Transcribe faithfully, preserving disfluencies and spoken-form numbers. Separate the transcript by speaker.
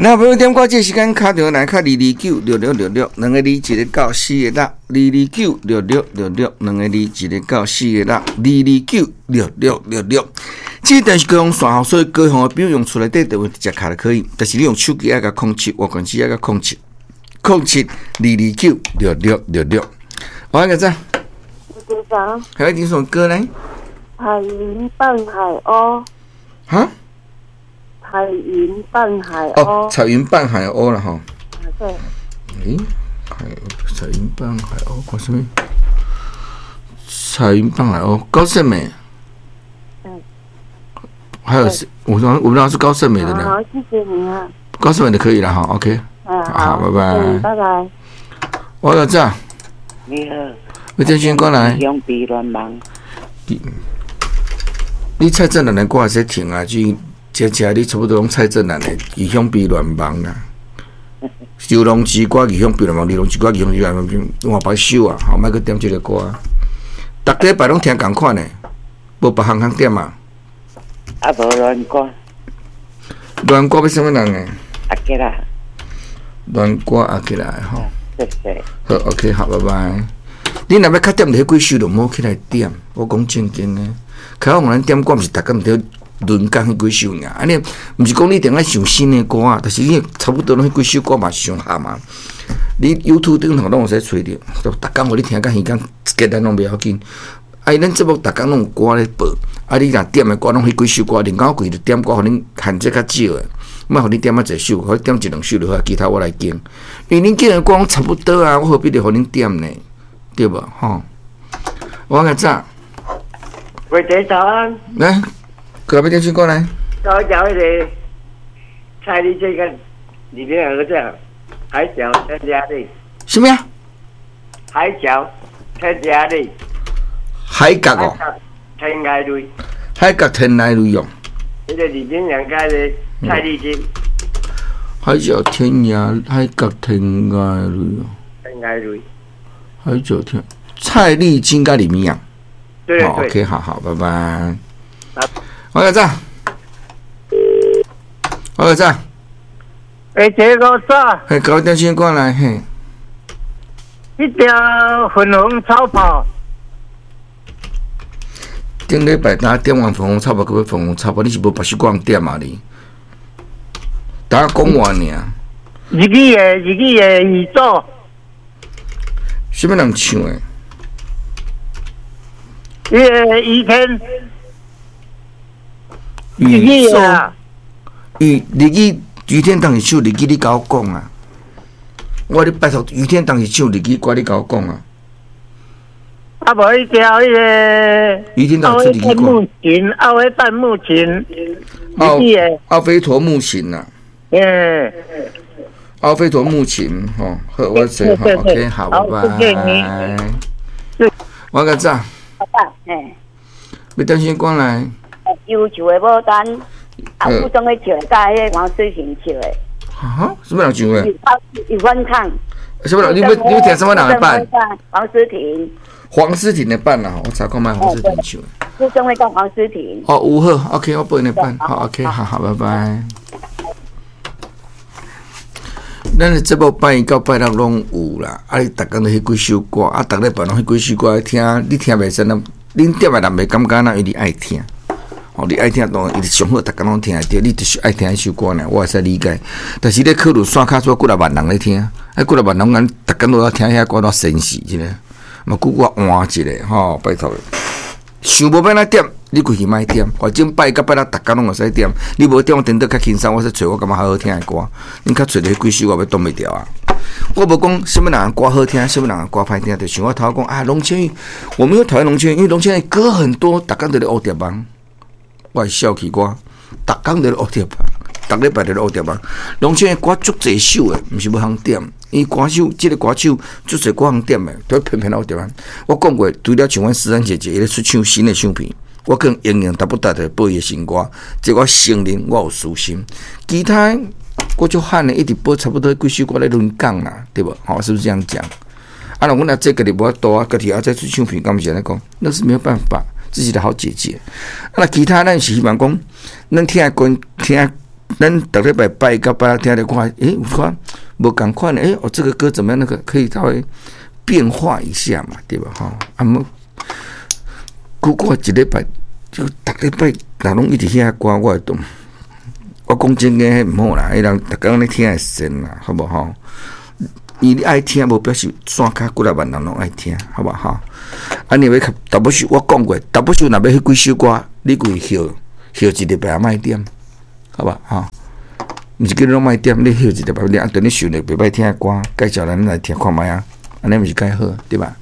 Speaker 1: 那朋友點歌，這個時間敲電話來敲二二九六六六六，兩個二一個九四個六，二二九六六六六，兩個二一個九四個六，二二九六六六六。這段是高雄線吼，所以高雄的朋友用厝內底電話直接敲就可以，但是你用手機愛共空七，外縣市愛共空七，空七二二九六六六六。我來個讚，
Speaker 2: 局長，
Speaker 1: 還要點什麼歌呢？
Speaker 2: 彩雲伴海鷗。
Speaker 1: 哈？
Speaker 2: 彩雲伴海鷗。
Speaker 1: 哦，彩雲伴海鷗啦吼。
Speaker 2: 對。
Speaker 1: 欸，海彩雲伴海鷗，看啥物？彩雲伴海鷗，高勝美。
Speaker 2: 嗯。
Speaker 1: 還有是，我說我們那是高勝美的呢。
Speaker 2: 好，謝謝你啊。
Speaker 1: 高勝美的可以了哈，OK。
Speaker 2: 嗯，
Speaker 1: 好，拜拜。
Speaker 2: 拜拜。
Speaker 1: 我有這。
Speaker 3: 你好。
Speaker 1: 我真先過來。
Speaker 3: 永比聯盟。
Speaker 1: 你你蔡振南的歌會使聽啊，就這這你差不多攏蔡振南的《異想比聯盟》啊。周龍之歌《異想比聯盟》，李龍之歌《異想比聯盟》，換別首啊，好，莫閣點這个歌。逐禮拜攏聽仝款的，無別項通點啊。
Speaker 3: 啊，無戀歌。
Speaker 1: 戀歌欲啥物人的？
Speaker 3: 阿吉拉。
Speaker 1: 戀歌阿吉拉的吼。
Speaker 3: 謝謝。
Speaker 1: 好，OK，好，拜拜。你若欲較點著彼幾首，就毋好起來點。我講正經的，較好咱點歌，毋是逐工佇輪講彼幾首爾。按呢，毋是講你一定愛想新的歌啊，但是你差不多攏彼幾首歌嘛是上合嘛。你 YouTube 頂頭攏會使揣著，逐工予你聽甲耳工一結攏袂要緊。啊，咱節目逐工攏有歌咧播，啊，你若點的歌攏彼幾首歌，林高貴就點歌，予恁限制較少的，莫予你點較濟首，予你點一兩首就好，其他我來揀。因為恁揀的歌攏差不多啊，我何必得予恁點呢？對無？吼，我較早。
Speaker 4: 喂，姐早安。
Speaker 1: 來，過來欲點首歌來。
Speaker 4: 我講彼个蔡麗這個裡面有個叫海角天涯淚。
Speaker 1: 啥物啊？
Speaker 4: 海角天涯淚。
Speaker 1: 海角哦。
Speaker 4: 天涯淚。
Speaker 1: 海角天涯淚哦。
Speaker 4: 彼个李明陽蓋的蔡麗金。
Speaker 1: 海角天涯，海角天涯淚哦。
Speaker 4: 天涯淚。
Speaker 1: 海角天，蔡麗金佮李明陽。
Speaker 4: 對對。
Speaker 1: OK，好好，拜拜。我個讚，我個讚。
Speaker 5: 欸，這個早。
Speaker 1: 嘿，搞點先過來嘿。
Speaker 5: 彼條粉紅超跑。
Speaker 1: 頂禮拜呾點完粉紅超跑，閣欲粉紅超跑，你是無別首歌通點啊你？等下講完爾。
Speaker 5: 日語的日語的宇宙。
Speaker 1: 啥物人唱的？
Speaker 5: 彼个于天。
Speaker 1: 宇宙。于日語余天當時唱日語，你共我講啊！我咧拜託余天當時唱日語歌，你共我講啊！
Speaker 5: 啊，無彼條彼个。
Speaker 1: 余天當出日語歌。
Speaker 5: 木琴，奧飛半木琴。
Speaker 1: 奧奧飛陀木琴啊。
Speaker 5: 嗯。
Speaker 1: 奧飛陀木琴，吼，好，我說好，OK，好，拜拜。我較早。
Speaker 6: 嘿。
Speaker 1: 欲點首歌來。
Speaker 6: 憂愁的牡丹，啊，吳宗憲唱的，佮彼个黃詩婷唱的。
Speaker 1: 哈？啥物人唱的？
Speaker 6: 有翻唱。
Speaker 1: 啥物人？你欲你欲聽啥物人的版？
Speaker 6: 黃詩婷。
Speaker 1: 黃詩婷的版啊，我查看覓黃詩婷唱的。
Speaker 6: 吳宗憲佮黃詩婷。
Speaker 1: 哦，有好，OK，我播𪜶的版，好，OK，好好，拜拜。咱的節目拜一到拜六攏有啦，啊，你逐工都彼幾首歌，啊，逐禮拜攏彼幾首歌聽，你聽袂使，恁點的人袂感覺哪，因為你愛聽。哦，你愛聽當然伊上好，逐工攏聽會著，你就是愛聽彼首歌爾，我會使理解。但是你考慮線跤出幾若萬人咧聽，啊，幾若萬人咱逐工都咧聽遐歌，都神死一下，嘛久我換一下吼，拜託。想無欲按怎點，你規氣莫點，反正拜一到拜六逐工攏會使點。你無點，我顛倒較輕鬆，我說揣我感覺較好聽的歌。恁較揣著彼幾首，我欲擋袂牢啊！我無講啥物人的歌好聽，啥物人的歌歹聽，就像我頭講啊，龍千玉，我沒有討厭龍千玉，因為龍千玉歌很多，逐工佇咧烏蝶夢，我會笑起我，逐工佇咧烏蝶夢，逐禮拜佇咧烏蝶夢。龍千玉歌足濟首的，毋是無通點。伊歌手，這个歌手足濟歌通點的，都偏偏烏蝶夢。我講過，除了像阮思珊姐姐，伊咧出唱新的唱片，我可能永遠達不達的播伊的新歌，這我承認我有私心。其他我就喊的一直播差不多幾首歌咧輪講啦，對無？吼，是不是這樣講？啊，若阮阿姐家己無法度啊，家己阿再出唱片，敢毋是按呢講？那是沒有辦法，自己的好姐姐。啊，那其他咱是希望講，咱聽慣聽咱逐禮拜拜一到拜六聽著看，欸，有看無仝款的，欸，哦，這個歌怎麼樣？那個可以稍微變化一下嘛，對吧？吼，啊，無，如果一禮拜就逐禮拜若攏一直遐歌，我會當。我講真的，彼毋好啦，彼人逐工咧聽會神啦，好無吼？伊你愛聽，無表示線跤幾若萬人攏愛聽，好無吼？啊，你欲大部首我講過，大部首若欲彼幾首歌，你規歇歇一禮拜也莫點，好無吼？毋是叫你攏莫點，你歇一禮拜，你啊，等你想著袂歹聽的歌，介紹咱來聽看覓啊，按呢毋是較好，對吧？